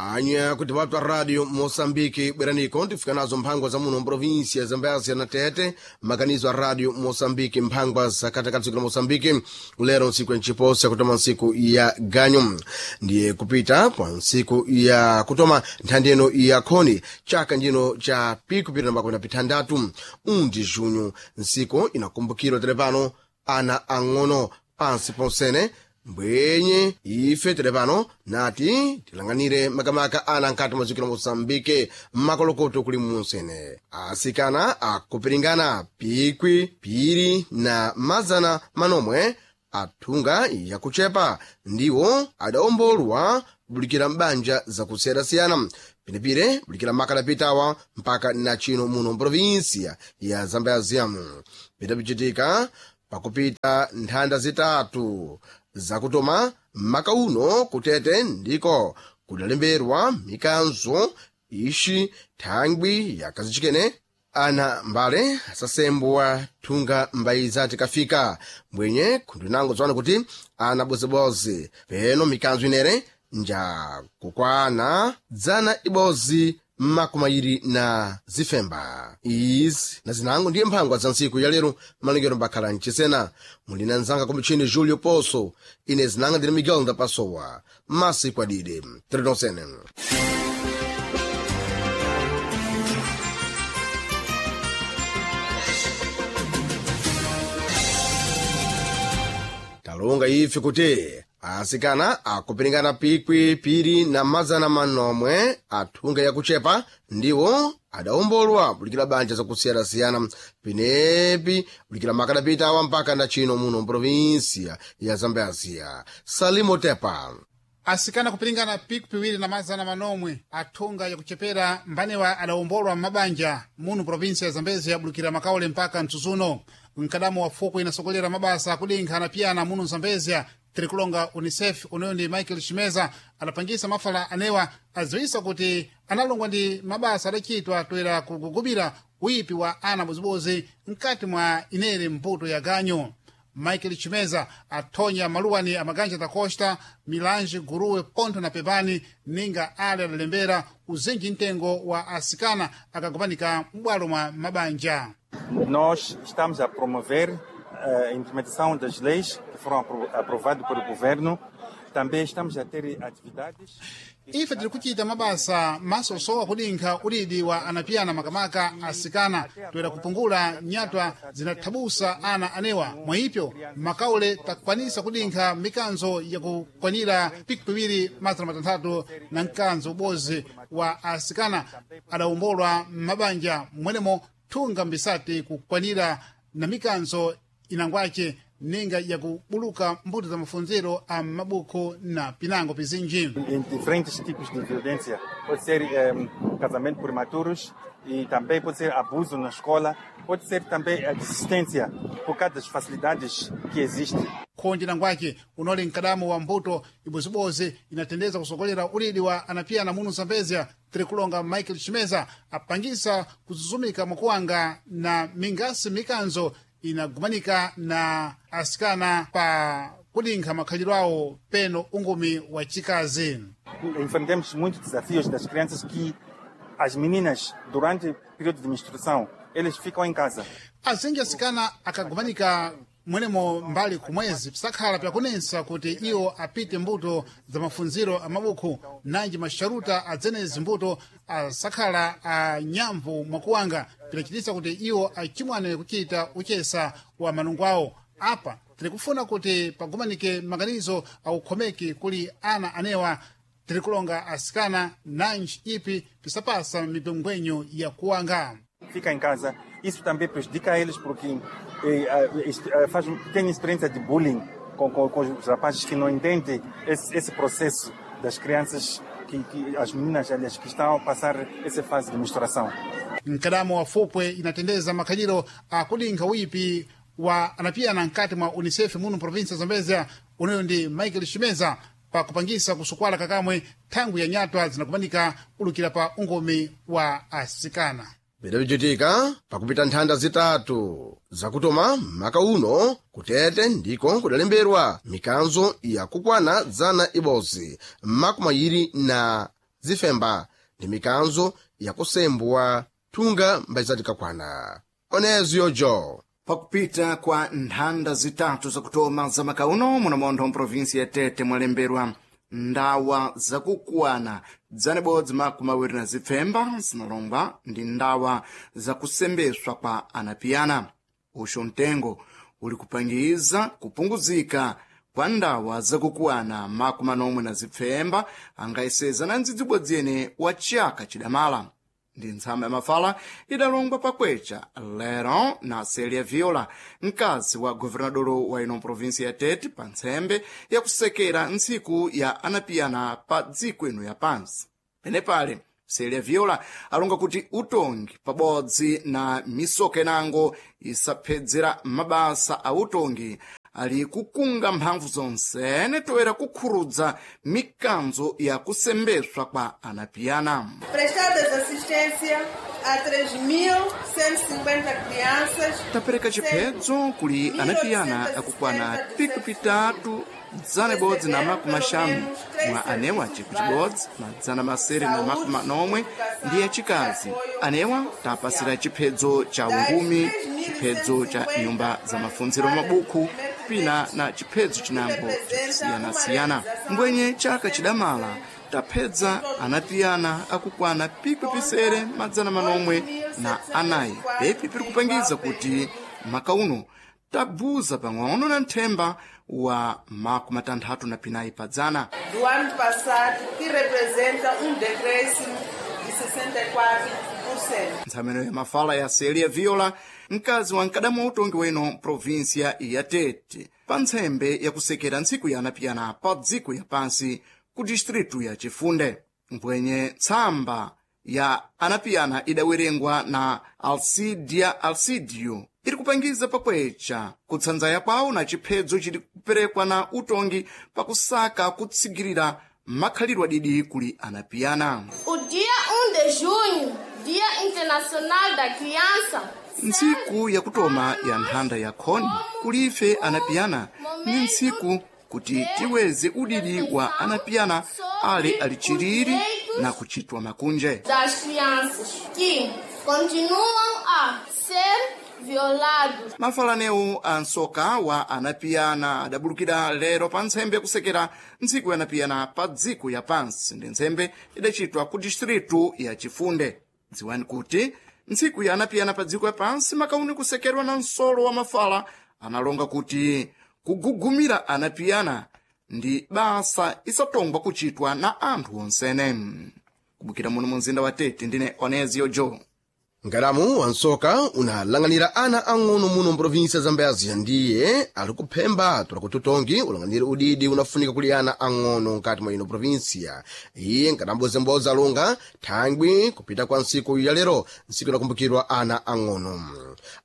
Anya kuti watu Radio Moçambique bweraniko tifika nazo mphangwa za muno mprovinsia ya Zambézia na Tete, maganizo a Radio Moçambique mphangwa za katikati dziko la Moçambique lero ntsiku ya nchiposa yakutoma ntsiku ya ganyo ndiye kupita kwa ntsiku ya kutoma nthandi ino ya khoni chaka njino cha pikupita na makumi na pithandatu undi junho ntsiku inakumbukirwa tere pano ana ang'ono pansi ponsene mbwenye ife tere pano nati tilanganire makamaka ana nkati mwa dziko la moçambike makolokoto kuli munsene asikana akupiringana pikwi piri na mazana manomwe athunga yakuchepa ndiwo adaombolwa kubulikira m'banja zakusiyana-siyana pinepire bulikira makadapitawa mpaka na chino muno mprovinsia ya zambézia pitapichitika pakupita nthanda zitatu zakutoma maka uno kutete ndiko kudalemberwa mikanzo ixi thangwi yakazichikene ana mbale asasembwa thunga mbayiza tikafika mbwenye khundinango tswana kuti ana bozebozi peno mikanzo inere nja kukwana dzana ibozi makumayiri na zifemba izi na zinango ndiye mphangwa za ntsiku ya lero malengero mbakhala mchisena muli na nzanga kumutchini Julio Poso ine zinanga ndine Miguel Ndapasowa masiku adide tretonsene. Talonga ife kuti asikana akupiringana pikwi piri na mazana manomwe athunga yakuchepa ndiwo adaombolwa bulikira banja zakusiyana-siyana pinepi bulikira makadapitawa mpaka na chino muno mprovinsia ya Zambézia. Salimo Tepa. Asikana kupiringana piku piwiri na mazana manomwe athunga yakuchepera mbanewa adawombolwa m'mabanja munu provinsia ya Zambézia yabulukira makaule mpaka mtsutsuno mkadamo wa fuku inasokolera mabasa akudinkha na piyana munu Zambézia tirikulonga Unicef uneyo ndi Michael Chimeza adapangisa mafala anewa adziwisa kuti analongwa ndi mabasa adachitwa toera kugugubira uyipi wa ana bozibozi mkati mwa inere mputo ya ganyo. Michael Chimeza athonya maluwani amaganja da Costa, Milange, Guruwe, Ponto na Pepani ninga ale adalembera uzinji mtengo wa asikana akagomanika m'bwalo mwa mabanja. Nós estamos a promover a implementação das leis que foram aprovadas pelo governo. Também estamos a ter atividades. Ife tiri kuchita mabasa masosowa kudinkha ulidi wa anapiyana makamaka asikana toera kupungula nyatwa zinathabusa ana anewa mwaipyo makaule takwanisa kudinkha mikanzo yakukwanira piku piwiri mazana matanthatu na mkanzo ubozi wa asikana adawombolwa m'mabanja mwenemo thunga mbisati kukwanira na mikanzo inangwace ninga yakubuluka mbuto za mafunziro a mabuku na pinango pizinji. Em diferentes tipos de violência. Pode ser casamento prematuros e também pode ser abuso na escola, pode ser também a desistência por causa das facilidades que existem. Khonje nangwace unoli mkadamo wa mbuto ibozibozi inatendeza kusokolera ulidi wa anapiyana munu Zambézia tirikulonga Michael Chimeza apangisa kuzuzumika mwakuwanga na mingasi mikanzo inagumanika na asikana pa kudinkha makhalidwe awo peno ungumi wa chikazi. Enfrentamos muitos desafios das crianças que as meninas durante o período de menstruação eles ficam em casa. Azinji asikana akagumanika mwenemo mbali kumwezi pisakhala pyakunensa kuti iwo apite mbuto za mafunziro a mabuku nanji masharuta adzenezi mbuto asakhala a nyamvu mwakuwanga pinachitisa kuti iwo achimwane kuchita uchesa wa malungu awo. Apa tiri kufuna kuti pagumanike maganizo aukhomeki kuli ana anewa tirikulonga asikana nanji ipi pisapasa mipengwenyo ya kuwanga. Fica em casa. Isso também prejudica eles porque tem experiência de bullying com os rapazes que não entendem esse processo das crianças, que as meninas, aliás, que estão a passar essa fase de menstruação. Mkadamo wa fupwe inatendeza makhaliro akudinkha uyipi wa anapiyana mkati mwa Unicef munu provinsia ya Zambézia uneyo ndi Michael Chimeza pakupangisa kusukwala kakamwe thangwi ya nyatwa zinakumanika kulukira pa ungomi wa asikana. Pidapichitika pakupita nthanda zitatu zakutoma maka uno kutete ndiko kudalemberwa mikanzo yakukwana dzana ibodzi makumi ayiri na Zifemba ndi mikanzo yakusembwa thunga mbayizatikakwana onezo jo. Pakupita kwa nthanda zitatu zakutoma za makauno munamontho mprovinsi ya Tete mwalemberwa ndawa zakukwana 127 zinalongwa ndi ndawa zakusembeswa kwa anapiyana. Uxo mtengo uli kupangiza kupunguzika kwa ndawa zakukwana 47 angayeseza na ndzidzibodzi yene wa chaka chidamala. Ndi ntsama ya mafala idalongwa pakwecha lero na Celia Viola, mkazi wa governador wa ino provinsi ya Tete, pa ntsembe yakusekera ntsiku ya anapiyana pa dziko ino ya pansi. Penepale Celia Viola alonga kuti utongi pabodzi na misoka inango isaphedzera mabasa a utongi ali kukunga mphamvu zonsene toera kukhurudza mikanzo ya kusembeswa kwa anapiyana. Prestadas assistência a 3.150 crianças. Tapereka chiphedzo kuli anapiyana akukwana piku pitatu 150 mwa anewa ciku cibodzi 670 ndi acikazi. Anewa tapasira chiphedzo cha ungumi, chiphedzo cha nyumba za mafunziro mabukhu pina na chiphedzo chinango chakusiyanasiyana. Mbwenye chaka chidamala taphedza anapiyana akukwana pikwi pisere 904. Pepi piri kupangiza kuti makauno tabuza pang'ono na nthemba wa 64 padzana. Do ano passado, que representa decréscimo de 64%. Ntsameno ya mafala ya Celia Viola, mkazi wa mkadamu wa utongi weno provinsia ya Tete, pa ntsembe yakusekera ntsiku ya anapiyana pa dziko ya pansi ku distritu ya Chifunde. Mbwenye tsamba ya anapiyana idawerengwa na Alcidia Alcidio iri kupangiza pakwecha kutsanzaya kwawo na chiphedzo chiri kuperekwa na utongi pakusaka kutsigirira makhalidwe adidi kuli anapiyana. O dia 1 de junho, Dia Internacional da Criança, Ntsiku yakutoma ya nthanda ya khoni kulife anapiyana ni ntsiku kuti tiweze udidi wa anapiyana ale alichiriri na kuchitwa makunje. Das crianças que continuam a ser violados. Mafalanewu a nsoka wa anapiyana adabulukira lero pa ntsembe yakusekera ntsiku ya anapiyana pa dziko ya pansi ndi ntsembe idachitwa ku distritu ya Chifunde. Dziwani kuti ntsiku ya anapiyana pa dziko ya pansi makauni kusekerwa na msolo wa mafala analonga kuti kugugumira anapiyana ndi basa isatongwa kuchitwa na anthu onsene. Kubukira muno mu mzinda wa Tete, ndine Onezio Joe. Nkadamu wansoka unalang'anira ana ang'ono muno mprovinsi ya Zambezia ndiye ali kuphemba tola kuti utongi ulang'anire udidi unafunika kuli ana ang'ono nkati mwa ino provinsia. Iye nkadambozemboza alonga thangwi kupita kwa ntsiku ya lero, ntsiku inakumbukirwa ana ang'ono.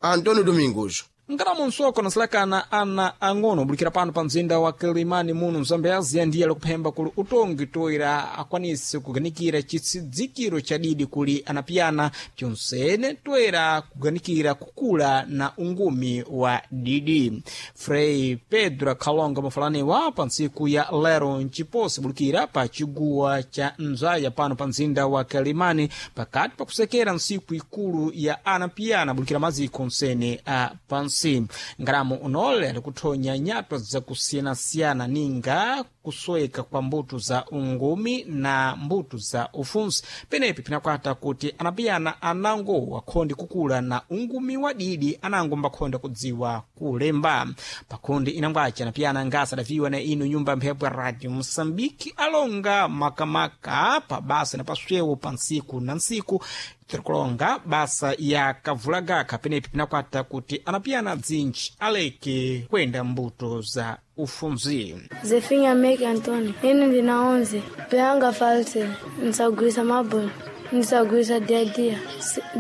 Antonio Domingos. Nkadamu nsoko nasilakana ana ang'ono ubulikira pano pa mzinda wa Kilimani muno Mzambezia ndiye alikuphemba kuli utongi toera akwanise kuganikira chitsidzikiro cha didi kuli anapiyana pyonsene toera kuganikira kukula na ungumi wa didi. Frei Pedro akhalonga mafalaniwa pa ntsiku ya lero mciposi bulikira pa chiguwa cha Nzaya pano pa mzinda wa Kilimani pakati pakusekera ntsiku ikulu ya anapiyana bulikira maziko nsene a pansi. Ngalamu unole alikuthonya nyatwa zakusiyanasiyana ninga kusweka kwa mbuto za ungumi na mbuto za ufunsi. Penepi pinakwata kuti anapiyana anango akhondi kukula na ungumi wa didi anango mbakhonda kudziwa kulemba. Pakhondi inangwaci anapiyana ngasa adaviwa na ino nyumba mphepo ya Radio Moçambique alonga makamaka pa basa na paswewo pa ntsiku na ntsiku tirikulonga basa ya kavulagaka. Penepi pinakwata kuti anapiyana dzinji aleke kwenda mbuto za ufunzi. Zefinha Meke Antônio, ine ndina 11, peyanga false, ndisagwisa mabolo, ndisagwisa dia-dia,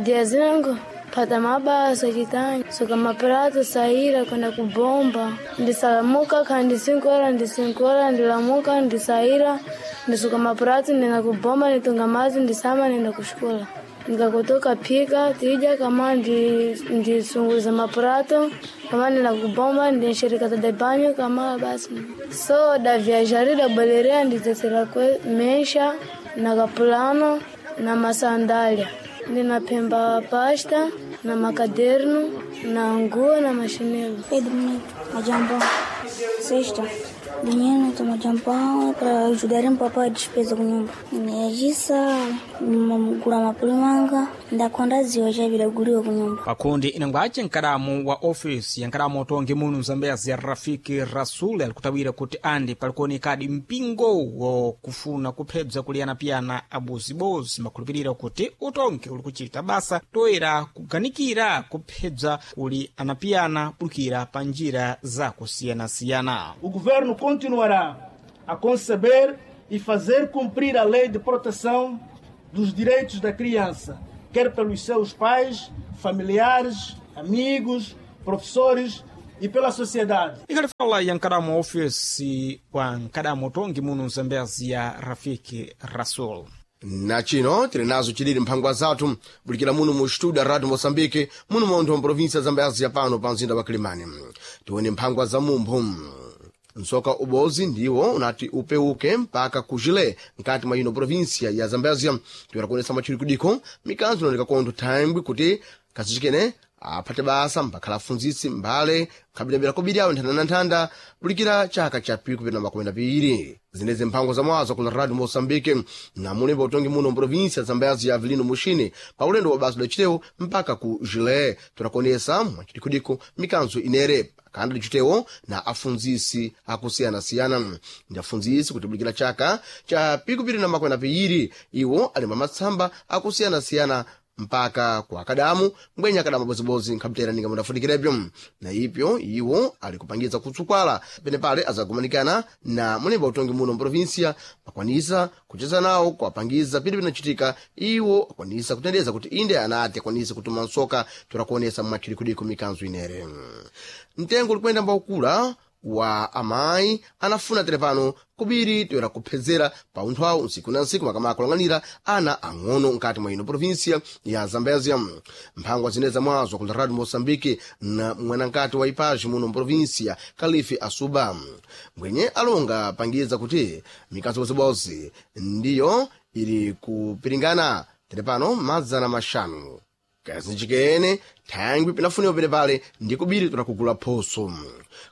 dia zinango pata mabasa chitanya, suka maprato saira kwenda kubomba, ndisalamuka kandi 5 horas, ndi 5 horas ndilamuka ndisaira, ndisuka maprato ndenda kubomba, nditunga mazi ndisama ndenda kushikola. Nikakutoka pika tija kama ndisunguza maprato kama nina kubomba ndinshirika de banho kama basi so da viajar da baleria nditesera kwe mesha na kapulano na masandalia ndinapemba pasta na makaderno na nguo na mashinelo. Pedro Neto, Majambão. Sexta. Dinheiro no Majampão para ajudar o papai a despesa com nyumba. Ndinayachisa gula mapulimanga ndakonda ziwa chavira guliwa ku nyumba. Pakundi inangwace nkadamu wa ofisi ya nkadamu otongi munu mzambezi ya Rafiki Rasul alikutawira kuti andi palikuonekadi mpingo wokufuna kuphebza kuliyana-piyana abozibozi makhulupirira kuti utongi uli kuchita basa toera kuganikira kuphebza kuli anapiyana pulukira pa njira zakusiyanasiyana. O governo continuará a conceber e fazer cumprir a lei de proteção dos direitos da criança, quer pelos seus pais, familiares, amigos, professores e pela sociedade. Ikalifala ya nkadamu ofisi wa nkadamu otongi munu mzambezi ya Rafiki Rasul. Na chino tili nazo chilili mphangwa zathu bulikira muno mu studio ya radio Moçambique muno montho mprovinsia ya Zambezia pano pa mzinda wa Kilimani. Tione mphangwa za mumphu. Msoka ubozi ndiwo unati upeuke mpaka kujile nkati mwa ino provinsia ya Zambezia. Tiwera kuonesa machirikudiko mikanzo inaoneka kontho thangwi kuti kasichikene aphate basa mbakhala afunzitsi mbale nkhabilabila kobiri awo nthanda na nthanda bulikira chaka cha piku pina makumi na piiri. Zinezi mphango za mwazo kula radio Moçambique na mulemba utongi muno mprovinsia ya Zambezia Avelino Mushini pa ulendo wa basa lacitewo mpaka ku Jile. Tirakonesa mwachidikudiko mikanzo inere kanda licitewo na afunzisi akusiyanasiyana ndi afunzisi kutibulikira chaka cha piku piri na makumi na piiri iwo alemba matsamba akusiyanasiyana mpaka kwa akadamu mbwenye akadamu abozibozi nkhabitera ninga mudafunikirepyo na ipyo iwo ali kupangiza kutsukwala penepale azagumanikana na mulemba utongi muno mprovinsia akwanisa kucheza nawo kuwapangiza pili pinachitika iwo akwanisa kutendeza kuti inde anati akwanise kutuma nsoka turakuonesa mwachidikudiko mikanzo inere. Mtengo ulikwenda mbaukula wa amayi anafuna telepano kubiri toera kuphedzera pa unthu awo nsiku na nsiku makamaka kulang'anira ana ang'ono nkati mwa ino provinsia ya Zambezia. Mphangwa zine zamwazo kula radio Moçambique na mwanankati wa Ipaji muno mprovinsia Kalifi Asuba mbwenye alonga pangiza kuti mikazo bozibozi ndiyo ili kupiringana telepano 500 kazinjikene thangwi pinafuniwa penepale ndi kubiri tunakugula phoso.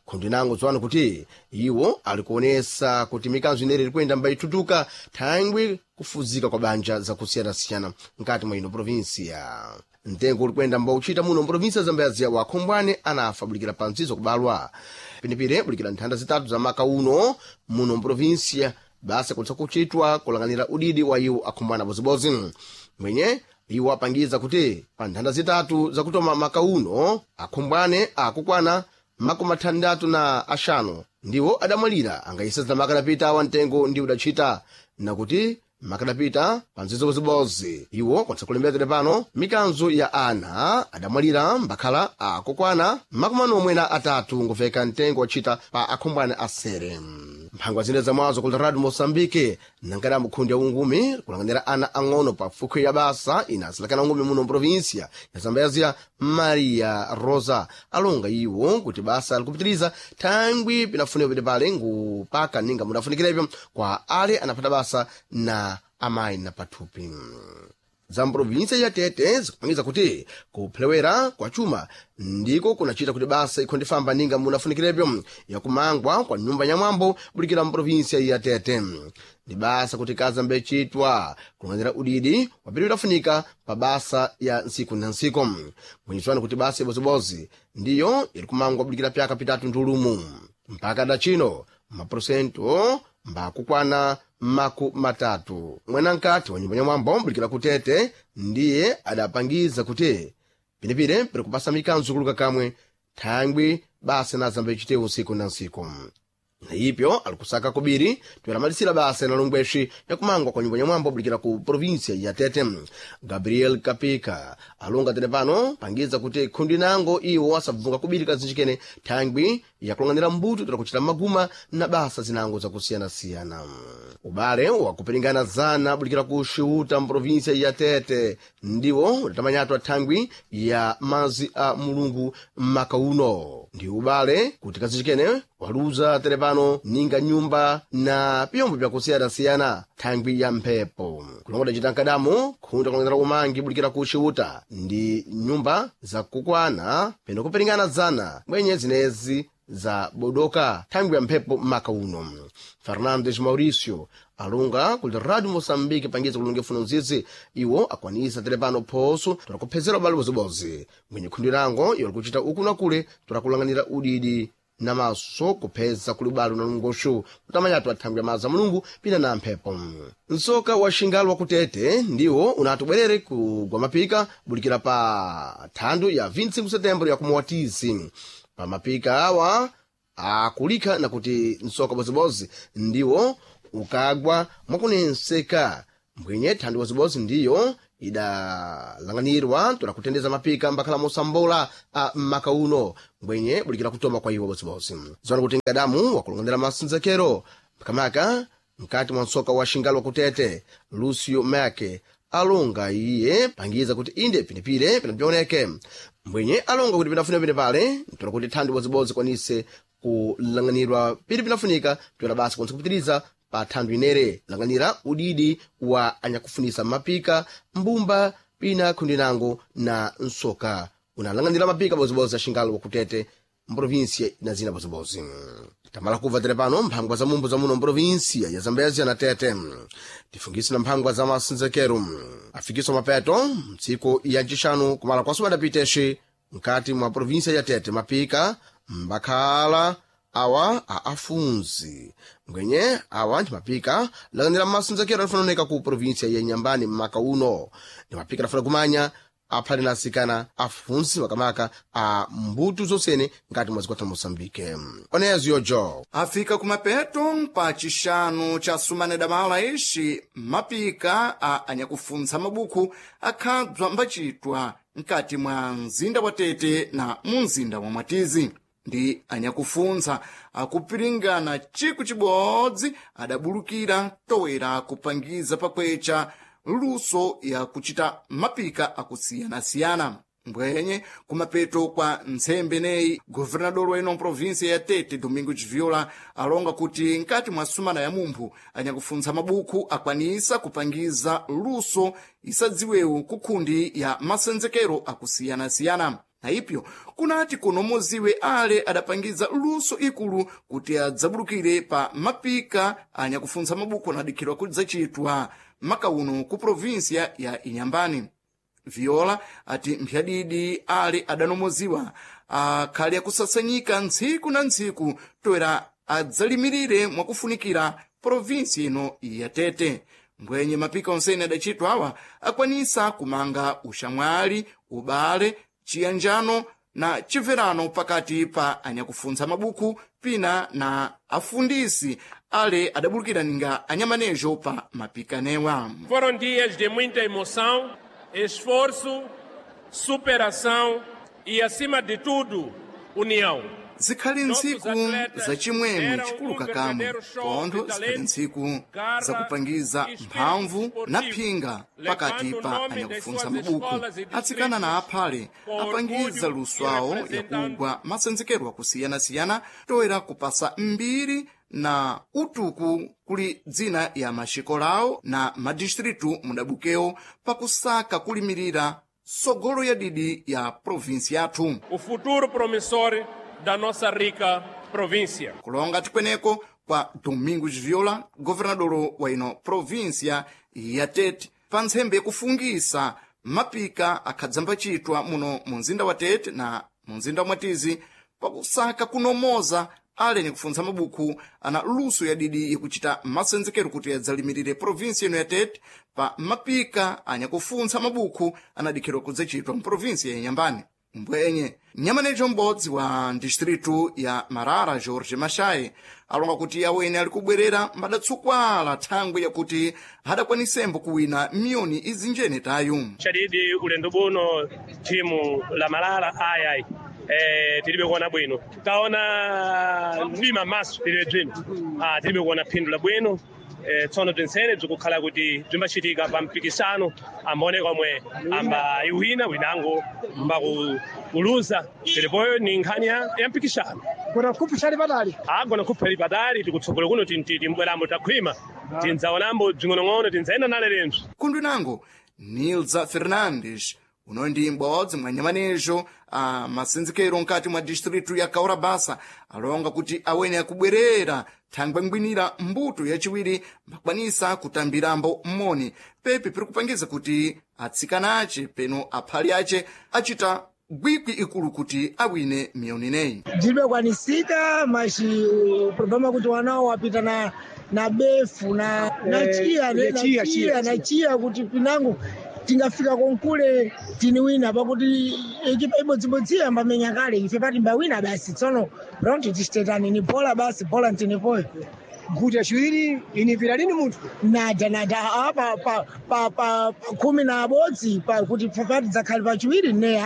Khundi nango tsopano kuti iwo alikuonesa kuti mikanzo inere ilikwenda mbayitutuka thangwi kufuzika kwa banja zakusiyanasiyana nkati mwa ino provinsia. Mtengo ulikwenda mbauchita muno mprovinsia ya Zambezia wa khombwane anafa bulikira pa nzizo kubalwa pinepire bulikira nthanda zitatu za maka uno muno mprovinsia basa kutsa kuchitwa kulang'anira udidi wa iwo akhombwana bozibozi mwenye iwo apangiza kuti pa nthanda zitatu zakutoma maka uno akhombwane akukwana 65 ndiwo adamwalira angayiseza makadapita wa mtengo ndi udachita nakuti makadapita pa nzizobozibozi iwo kwatsa kulembera pano mikanzo ya ana adamwalira mbakhala akukwana 43 nguveka mtengo wachita pa akhombwane asere. Mphangwa zine zamwazo kula radio Moçambique nankadamu khundi ya ungumi kulang'anira ana ang'ono pa fukwe ya basa inasilakana ungumi muno mprovinsia ya Zambezia Maria Rosa alonga iwo kuti basa likupitiriza thangwi pinafuniwa pene pale ngupaka ninga mudafunikirepyo kwa ale anaphata basa na amayi na pathupi. Za mprovinsia ya Tete zikupangiza kuti kuphelewera kwa chuma ndiko kunachita kuti basa ikhondifamba ninga munafunikirepyo yakumangwa kwa nyumba ya mwambo bulikira mprovinsia ya Tete. Ndi basa kuti kaza mbechitwa kulang'anira udidi wapiri utafunika pa basa ya ntsiku na ntsiku mwenyetswani kuti basa ibozibozi ndiyo iri kumangwa bulikira pyaka pitatu ndulumu mpaka dachino maporosento mbakukwana 30. Mwanankati wa nyumba ya mwambo bulikira kutete ndiye adapangiza kuti pinepire piri kupasa mikanzo kuluka kamwe thangwi basa na zambechitewu nsiku na nsiku. Na ipyo alikusaka kubiri tweramalisira basa na longweshi yakumangwa kwa nyumba nyamwambo bulikira ku provinsia ya Tete. Gabriel Kapika alonga tene pano pangiza kuti khundi nango iwo asabvunga kubiri kazinjikene thangwi yakulang'anira mbuto tola maguma na basa zinango zakusiyanasiyana. Ubale wakupiringana zana bulikira ku Xiuta mprovinsia ya Tete ndiwo udatamanyatwa thangwi ya mazi a Mulungu maka uno. Ndi ubale kuti kazinjikene waluza tere pano ninga nyumba na pyombo byakusiyanasiyana thangwi ya mphepo. Kulongoda cita nkadamu khunda kulongedzera umangi bulikira ku Xiuta ndi nyumba zakukwana peno kupiringana zana mwenye zinezi za bodoka thangwi ya mphepo maka uno. Fernandes Mauricio alunga kuli Radio Moçambique pangiza kulunga funo nzizi iwo akwanisa tere pano phoso tola ubale bozibozi mwenye khundi lango iwo likuchita uku na kule tola kulanganira udidi na maso kupheza kuli ubale unalungoshu kutamanyatu athangwi ya maza Mulungu pina na mphepo. Nsoka wa xingalo wa kutete ndiwo unati ubwerere kugwa mapika bulikira pa thandu ya 25 setembro ya kumuwatisi. Pa mapika awa akulikha na kuti nsoka bozibozi ndiwo ukagwa mwakunenseka mbwenye thandu bozibozi ndiyo idalanganirwa tola kutendeza mapika mbakhala mosambola a maka uno mbwenye bulikira kutoma kwa iwo bozibozi. Zona kuti ngadamu wakulongandira masinzekero makamaka mkati mwa nsoka wa xingalo wakutete Lucio Make alonga iye pangiza kuti inde pinepire pinapioneke mbwenye alonga kuti pinafuna pene pale ntola kuti thandu bozibozi kwanise kulang'anirwa pili pinafunika tola basa kwanisa kupitiriza pa thandu inere lang'anira udidi wa anyakufunisa mapika mbumba pina khundi nango na nsoka unalang'anira mapika bozibozi axingalo wakutete mprovinsia na zina bozibozi. Tamala kubva tere pano mphangwa za mumbu za muno mprovinsia ya Zambezia na Tete tifungise na mphangwa za masinzekero afikiswa mapeto mtsiku ya ncixanu kumala kwa sumadapitexi mkati mwa provinsia ya Tete mapika mbakhala awa a afunzi mbwenye awa ndi mapika lang'anira masinzekero alifanoneka ku provinsia ya Nyambani mmaka uno ndi mapika adafuna kumanya aphale na asikana afunsi makamaka a mbuto zonsene ngati mwa zikwata Moçambique. Onezo yojo Afika kumapeto pa chixanu cha sumana damala ixi mapika a anyakufuntsa mabuku akhadzwa mbacitwa mkati mwa mzinda wa Tete na mu mzinda wa Mwatizi. Ndi anyakufuntsa akupiringana ciku cibodzi adabulukira towera kupangiza pakwecha luso ya kuchita mapika akusiyana-siyana. Mbwenye kumapeto kwa ntsembe neyi governador wa ino provinsia ya Tete Domingos Viola alonga kuti nkati mwa sumana ya mumphu anyakufuntsa mabuku akwanisa kupangiza luso isadziwewu kukhundi ya masenzekero akusiyana-siyana. Na ipyo kunati kunomoziwe ale adapangiza luso ikulu kuti adzabulukire pa mapika anyakufuntsa mabuku anadikhidwa kudzacitwa maka uno ku provinsia ya Inyambani. Viola ati mphyadidi ale adanomoziwa akhali akusasanyika ntsiku na ntsiku toera adzalimirire mwakufunikira provinsi ino ya Tete. Mbwenye mapika onsene adacitwa awa akwanisa kumanga uxamwali, ubale, chiyanjano na chimverano pakati pa anyakufuntsa mabuku pina na afundisi ale adabulukira ninga anyamanejo pa mapikanewa. Foram dias de muita emoção, esforço, superação e, acima de tudo, união. Zikhali ntsiku zacimwemwe chikuluka kamwe pontho zikhali ntsiku zakupangiza mphamvu na phinga pakati pa anyakufuntsa mabuku. Atsikana na aphale apangiza luso awo yakugwa masenzekero akusiyana-siyana toera kupasa mbiri na utuku kuli dzina ya maxikolawo na madistritu mudabukewo pakusaka kulimirira sogolo ya didi ya provinsi yathu. O futuro promissor da nossa rica província. Kulonga tikweneko kwa Domingos Viola, governador wa ino província ya Tete, pa ntsembe yakufungisa mapika akhadzambacitwa muno mu mzinda wa Tete na mu mzinda wa Mwatizi pakusaka kunomoza ale nikufuntsa mabuku ana luso ya didi yakuchita masenzekero kuti adzalimirire provinsi ino ya Tete pa mapika anyakufuntsa mabuku anadikhidwa kudzacitwa mu provinsi ya Inyambani. Mbwenye nyamanejo m'bodzi wa distritu ya Marara, George Mashaye, alonga kuti awene ali kubwerera mbadatsukwala thangwi yakuti adakwanisembo kuwina miyoni izinjene tayu. Chadidi ulendo buno timu la Malala ayayi tilibe kuona bwino, taona mdima maso tilibe bwino, tilibe kuona phindu la bwino. Tsono bzinsene bzikukhala kuti bzimbachitika pa mpikisano ambaoneka omwe amba iwina winango mbakuluza tilipoyo ni nkhani ya mpikisano. Gona kuphi chali patali? Gona kuphi ali patali, tikutsogolo kuno timbwerambo takhwima, tindzaonambo bzing'onong'ono tindzayenda nale lempso. Kundwinango Nilza Fernandes uno ndi m'bodzi mwa nyamanejo a masenzekero mkati mwa distritu ya Kaurabasa alonga kuti awene akubwerera thangwe ngwinira mbuto yachiwiri mbakwanisa kutambirambo mmoni pepi piri kupangiza kuti atsikana ace peno aphali ace achita gwikwi ikulu kuti awine miyoni ineyi. Ndilibe kwanisika machi problema kuti wanawo wapita na befu na chiya na chiya na chiya kuti pinango tingafika konkule tiniwina pakuti ekipa ibodzibodzi ambamenya kale ife pati mbawina basi. Tsono raundi tichitetani ni bola basi, bola ntinipoyo. Nkhuti yaciwiri inipira lini munthu? Nada nada pa pa pa pa 11 pa kuti pati dzakhale pachiwiri ne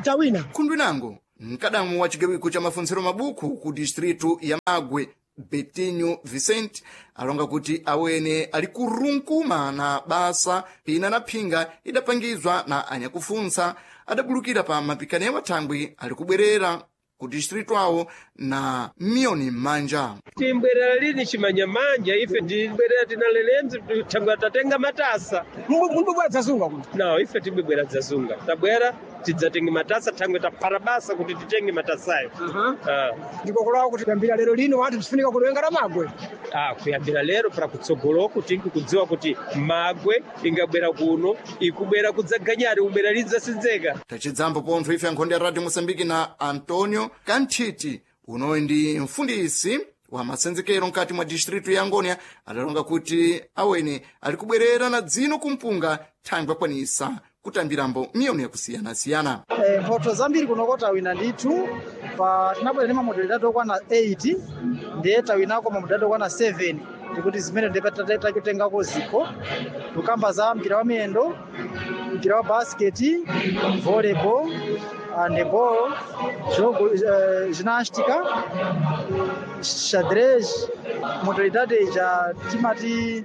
tawina. Khundwinango mkadamu wa chigawiko cha mafuntsiro mabuku ku distritu ya Magwe, Betinho Vicente, alonga kuti awene ali kurunkuma na basa pina na phinga idapangizwa na anyakufuntsa adabulukira pa mapikano thangwi ali kubwerera ku distritu awo na miyoni m'manja. Timbwerera lini chimanyamanja ife tibwerera tinalelenzi thangwi tatenga matasa. Mumbubwera dzazunga kuno? No, ife tibwebwera dzazunga, tabwera tidzatenge matasa thangwi taphata basa kuti titenge matasayo. Ndikokolawo kuti kuyambira lero lino wanthu tifunika kulenga la Magwe. Kuyambira lero para kutsogoloku tingi kudziwa kuti Magwe ingabwera kuno ikubwera kudzaganyari ubwera lidzasinzeka. Tachidzambo pontho ife ankhonde ya Radio Mosambiki na Antonio Kanthiti unoyi ndi mfundisi wa masenzekero mkati mwa distritu ya Angonia adalonga kuti awene ali kubwerera na dzino kumpunga thangwi akwanisa kutambirambo miyoni yakusiyanasiyana. Mphotho zambiri kunoko tawina ndithu pa tinabwera ndi mamodalidadi okwana 8 ndiye tawinako mamodalidadi okwana 7 ndikuti zimene nditachotengako zikho tukamba za mpira wa miyendo, mpira wa basiketi, volleyball, handball, jogo, ginástica, xadrez, modalidade ja timati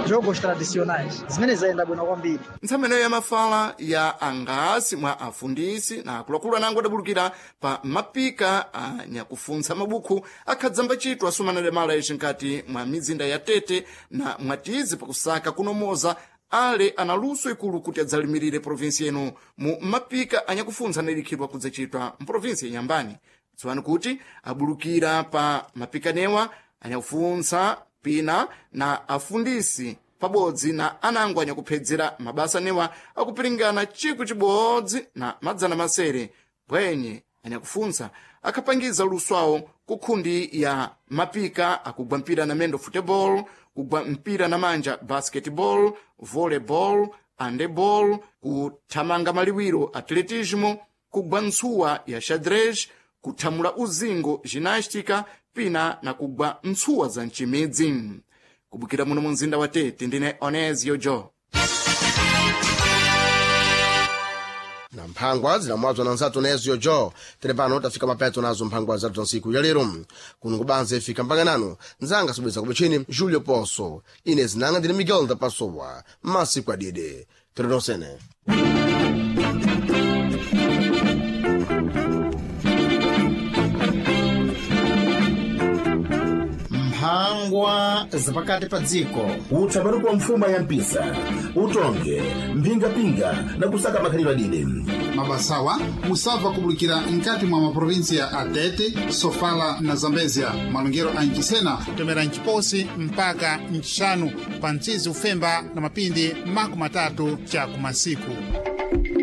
jogos tradicionais zimene zayenda bwino kwambiri. Ntsameno ya mafala ya angasi mwa afundisi na akuluakulu anango adabulukira pa mapika a nyakufuntsa mabukhu akhadzamba chitwa asumana mala ici nkati mwa mizinda ya Tete na Mwatizi pakusaka kunomoza ale ana luso ikulu kuti adzalimirire provinsi ino mu mapika anyakufuntsa analikhidwa kudzachitwa mprovinsi ya Nyambani. Dziwani kuti abulukira pa mapikanewa anyakufuntsa pina na afundisi pabodzi na anango anyakuphedzera mabasa newa akupiringana 1600 bwenye anyakufuntsa akhapangiza luso awo ku khundi ya mapika akugwa mpira na mendo football, kugwa mpira na manja basketball, volleyball, handeball, kuthamanga maliwiro atletismo, kugwa ntsuwa ya xadrez, kuthamula uzingo ginástica pina na kugwa ntsuwa za mcimidzi. Kubukira muno mu mzinda wa Tete ndine Onesio Jo. Na mphangwa zinamwazwa na nzathu Onesio Jo. Tere pano tafika mapeto nazo mphangwa zathu za ntsiku ya lero. Kuno kubanza ifika mpaka nanu nzanga sobweza kupechini Julio Poso, ine zinanga ndine Miguel da Pasowa masiku adide tere nonsene. Mphangwa zapakati pa dziko. Utsamani kwa mfuma ya mpisa, utonge mphingapinga na kusaka makhalidwe adide. Mabasawa musabva kubulikira nkati mwa maprovinsia a Tete, Sofala na Zambezia. Malongero a Nchisena tomera Nchiposi mpaka Nchixanu pa mtsizi ufemba na mapindi 30 cha kumasiku.